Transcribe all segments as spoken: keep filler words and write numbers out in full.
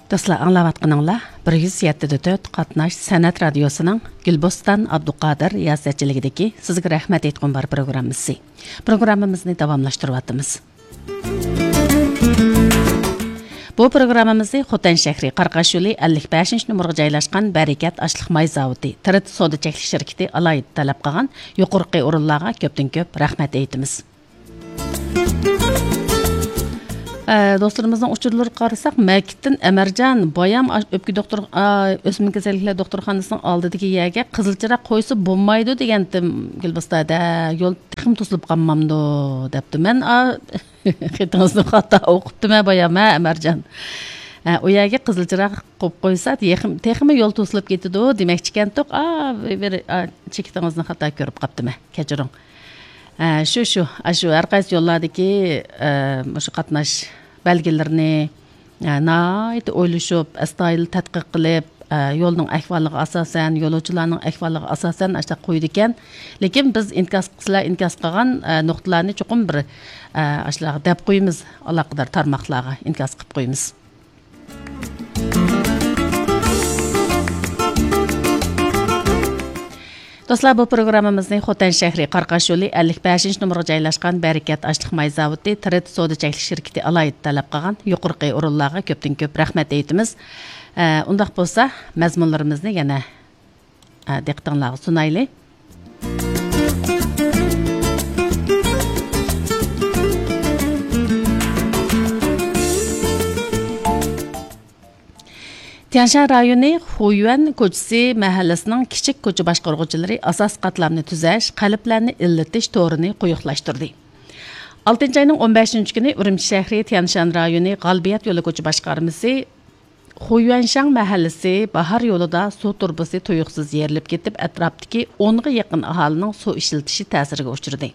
دوستلار، ئاڭلاۋاتقىنىڭلار بىر يۈز يەتتە دە تۆت قاتناش سەنئەت رادىيوسىنىڭ گۈلبوستان ئابدۇقادىر رىياسەتچىلىكىدىكى سىزگە رەھمەت ئېيتقۇم بار پروگراممىسى. پروگراممىمىزنى داۋاملاشتۇرۇۋاتىمىز. بۇ پروگراممىمىزنى خوتەن شەھىرى قاراقاش يولى ئەللىك بەشىنچى نومۇرغا جايلاشقان بەرىكەت ئاشلىق ماي زاۋۇتى، تىرىت سودا چەكلىك شىركىتى ئالاھىدە تەلەپ قىلغان يۇقىرىقى ئورۇنلارغا كۆپتىن كۆپ رەھمەت ئېيتىمىز. ئە، دوستلىرىمىزنىڭ ئۇچۇرلىرىغا قارىساق، مەكىتتىن ئەمەرجان، بايام ئاش-، ئۆپكە دوختۇر-، ئا، ئۆسمە كېسەللىكلەر دوختۇرخانىسىنىڭ ئالدىدىكى يەرگە قىزىل چىراغ قويسا بولمايدۇ دېگەنتىم، گۈلبىستادا، يول تېخىمۇ توسۇلۇپ قالمامدۇ دەپتۇ. مەن، ئا، خېتىڭىزنى خاتا ئوقۇپتىمەن بايام، ھە، ئەمەرجان. ھە، ئۇ يەرگە قىزىل چىراغ قويۇپ قويسا، تېخىم-، تېخىمۇ يول توسۇلۇپ كېتىدۇ دېمەكچىكەنتۇق. ئا، بىر، بىر، ئا، چېكىتىڭىزنى خاتا كۆرۈپ قاپتىمەن، كەچۈرۈڭ. ھە، شۇ، شۇ، ئاشۇ ھەر قايسى يوللاردىكى، ئە، مۇشۇ قاتناش بەلگىلىرىنى، ئە، ناھايىتى ئويلىشىپ، ئەستايىدىل تەتقىق قىلىپ، ئە، يولنىڭ ئەھۋالىغا ئاساسەن، يولۇچىلارنىڭ ئەھۋالىغا ئاساسەن ئاشۇنداق قويىدىكەن. لېكىن بىز ئىنكاس، سىلەر ئىنكاس قىلغان، ئە، نۇقتىلارنى چوقۇم بىر، ئە، ئاشۇلارغا دەپ قويىمىز، ئالاقىدار تارماقلارغا ئىنكاس قىلىپ قويىمىز. دوستلار، بۇ پروگراممىمىزنى خوتەن شەھىرى قاراقاش يولى ئەللىك بەشىنچى نومۇرغا جايلاشقان بەرىكەت ئاشلىق ماي زاۋۇتى، تىرىت سودا چەكلىك شىركىتى ئالاھىدە تەلەپ قىلغان يۇقىرىقى ئورۇنلارغا كۆپتىن كۆپ رەھمەت ئېيتىمىز. ئە، ئۇنداق بولسا، مەزمۇنلىرىمىزنى يەنە، ئە، دىققىتىڭلارغا سۇنايلى. تيەنشان رايونى خۇيۈەن كوچىسى مەھەللىسىنىڭ كىچىك كوچا باشقۇرغۇچىلىرى ئاساسىي قاتلامنى تۈزەش، قەلبلەرنى ئىللىتىش تورىنى قويۇقلاشتۇردى. ئالتىنچى ئاينىڭ ئون بەشىنچى كۈنى ئۈرۈمچى شەھىرى تيەنشان رايونى غالىبىيەت يولى كوچا باشقارمىسى خۇيۈەنشاڭ مەھەللىسى باھار يولىدا سۇ تۇرۇبىسى تۇيۇقسىز يېرىلىپ كېتىپ، ئەتراپتىكى ئونغا يېقىن ئاھالىنىڭ سۇ ئىشلىتىشى تەسىرگە ئۇچرىدى.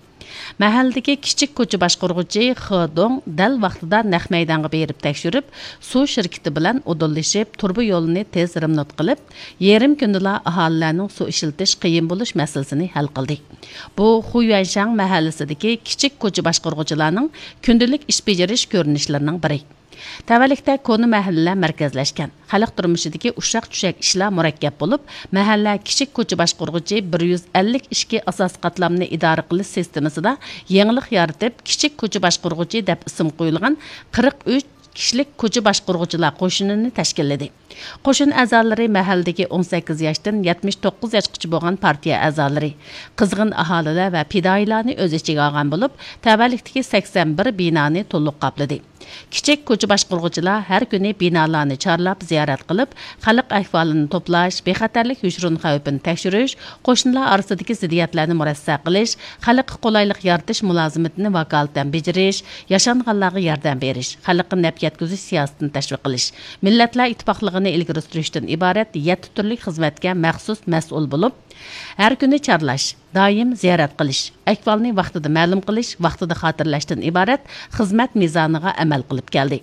مەھەللىدىكى كىچىك كوچا باشقۇرغۇچى خې دۇڭ دەل ۋاقتىدا نەق مەيدانغا بېرىپ تەكشۈرۈپ، سۇ شىركىتى بىلەن ئۇدۇللىشىپ، تۇرۇبا يولىنى تېز رېمونت قىلىپ، يېرىم كۈندىلا ئاھالىلەرنىڭ سۇ ئىشلىتىش قىيىن بولۇش مەسىلىسىنى ھەل قىلدى. بۇ خۇيۈەنشاڭ مەھەللىسىدىكى كىچىك كوچا باشقۇرغۇچىلارنىڭ كۈندىلىك ئىش بېجىرىش كۆرۈنۈشلىرىنىڭ بىرى. تەۋەلىكتە كونا مەھەللىلەر مەركەزلەشكەن. خەلق تۇرمۇشىدىكى ئۇششاق-چۈششەك ئىشلار مۇرەككەپ بولۇپ، مەھەللە كىچىك كوچا باشقۇرغۇچى بىر يۈز ئەللىك ئىككى ئاساسىي قاتلامنى ئىدارە قىلىش سىستېمىسىدا يېڭىلىق يارىتىپ، كىچىك كوچا باشقۇرغۇچى دەپ ئىسىم قويۇلغان قىرىق ئۈچ كىشىلىك كوچا باشقۇرغۇچىلار قوشۇنىنى تەشكىللىدى. قوشۇن ئەزالىرى مەھەللىدىكى ئون سەككىز ياشتىن يەتمىش توققۇز ياشقىچە بولغان پارتىيە ئەزالىرى، قىزغىن ئاھالىلەر ۋە پىدائىيلارنى ئۆز ئىچىگە ئالغان بولۇپ، تەۋەلىكتىكى سەكسەن بىر بىنانى تولۇق قاپلىدى. كىچىك كوچا باشقۇرغۇچىلار ھەر كۈنى بىنالارنى چارلاپ زىيارەت قىلىپ، خەلق ئەھۋالىنى توپلاش، بىخەتەرلىك يوشۇرۇن خەۋپىنى تەكشۈرۈش، قوشنىلار ئارىسىدىكى زىددىيەتلەرنى مۇرەسسە قىلىش، خەلققە قولايلىق يارىتىش مۇلازىمىتىنى ۋاكالىتەن بېجىرىش، ياشانغانلارغا ياردەم بېرىش، خەلققە نەپ يەتكۈزۈش سىياسىتىنى تەشۋىق قىلىش، مىللەتلەر ئىتتىپاقلىقىنى ئىلگىرى سۈرۈشتىن ئىبارەت يەتتە تۈرلۈك خىزمەتكە مەخسۇس مەسئۇل بولۇپ، ھەر كۈنى چارلاش، دائىم زىيارەت قىلىش، ئەھۋالنى ۋاقتىدا مەلۇم قىلىش، ۋاقتىدا خاتىرىلەشتىن ئىبارەت خىزمەت مىزانىغا ئەمەل قىلىپ كەلدى.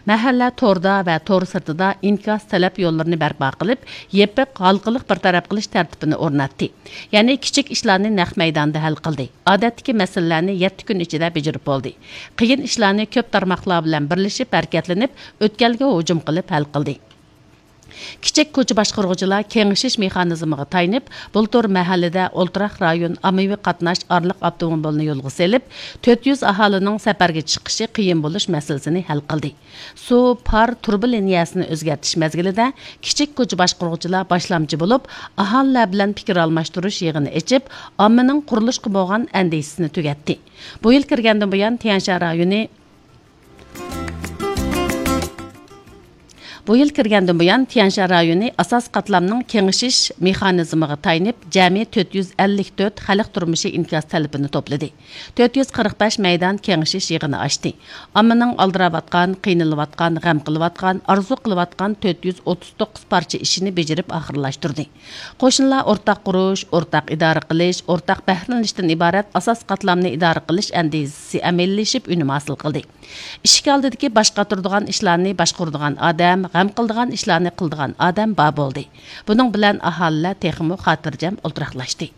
مەھەللە توردا ۋە تور سىرتىدا ئىنكاس تەلەپ يوللىرىنى بەرپا قىلىپ، يېپىق، ھالقىلىق بىر تەرەپ قىلىش تەرتىپىنى ئورناتتى. يەنى كىچىك ئىشلارنى نەق مەيداندا ھەل قىلدى. ئادەتتىكى مەسىلىلەرنى يەتتە كۈن ئىچىدە بېجىرىپ بولدى. قىيىن ئىشلارنى كۆپ تارماقلار بىلەن بىرلىشىپ ھەرىكەتلىنىپ، ئۆتكەلگە ھۇجۇم قىلىپ ھەل قىلدى. كىچىك كوچا باشقۇرغۇچىلار كېڭىشىش مېخانىزمىغا تايىنىپ، بۇلتۇر مەھەللىدە ئولتۇراق رايون ئاممىۋى قاتناش ئارىلىق ئاپتوموبىلىنى يولغا سېلىپ، تۆت يۈز ئاھالىنىڭ سەپەرگە چىقىشى قىيىن بولۇش مەسىلىسىنى ھەل قىلدى. سۇ، پار، تۇرۇبا لىنىيەسىنى ئۆزگەرتىش مەزگىلىدە كىچىك كوچا باشقۇرغۇچىلار باشلامچى بولۇپ، ئاھالىلەر بىلەن پىكىر ئالماشتۇرۇش يىغىنى ئېچىپ، ئاممىنىڭ قۇرۇلۇشقا بولغان ئەندىشىسىنى تۈگەتتى. بۇ يىل كىرگەندىن بۇيان، تيەنشان رايونى بۇ يىل كىرگەندىن بۇيان، تيەنشان رايونى ئاساسىي قاتلامنىڭ كېڭىشىش مېخانىزمىغا تايىنىپ، جەمئىي تۆت يۈز ئەللىك تۆت خەلق تۇرمۇشى ئىنكاس تەلىپىنى توپلىدى. تۆت يۈز قىرىق بەش مەيدان كېڭىشىش يىغىنى ئاچتى. ئاممىنىڭ ئالدىراۋاتقان، قىينىلىۋاتقان، غەم قىلىۋاتقان، ئارزۇ قىلىۋاتقان تۆت يۈز ئوتتۇز توققۇز پارچە ئىشىنى بېجىرىپ ئاخىرلاشتۇردى. قوشنىلار ئورتاق قۇرۇش، ئورتاق ئىدارە قىلىش، ئورتاق بەھرىلىنىشتىن ئىبارەت ئاساسىي قاتلامنى ئىدارە قىلىش ئەندىزىسى ئەمەلىيلىشىپ ئۈنۈم ھاسىل قىلدى. ئىشىك ئالدىدىكى باش قاتۇرىدىغان ئىشلارنى باشقۇرىدىغان ئادەم، غەم قىلىدىغان ئىشلارنى قىلىدىغان ئادەم بار بولدى. بۇنىڭ بىلەن ئاھالىلەر تېخىمۇ خاتىرجەم ئولتۇراقلاشتى.